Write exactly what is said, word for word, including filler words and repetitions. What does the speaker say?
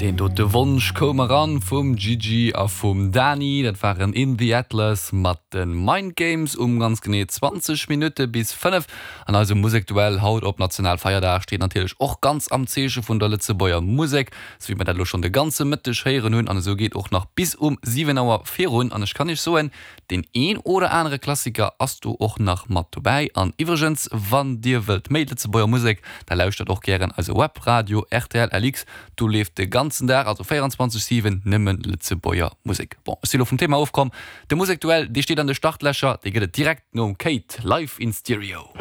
Deen dote Wonsch koum eran vum Gigi a vum Dani. Dat waren In the Atlas mat de Mind Games um ganz genee zwanzeg Minutte bis fënnef. An eise Musekduell haut op Nationalfeierdag steet natierlech och ganz am Zeeche vun der Lëtzebuerger Musek, sou wéi mer dat elo schonn de ganze Mëtteg héieren hunn. An esou geet och nach bis um siwen Auer virun. An ech kann iech soen, deen een oder anere Klassiker ass do och nach mat dobäi. An iwwregens, wann dir wëllt méi Lëtzebuerger Musek, da lauschtert och gären eise Webradio rtl L X. Do leeft de ganzen Dag, also véierundzwanzeg siwen, nëmmen Lëtzebuerger Musek. Bon, ech si lo vum Thema ofkomm. De Musekduell, dee steet an de Startlächer, dee gëtt et direkt nom Kate, Live in Stereo.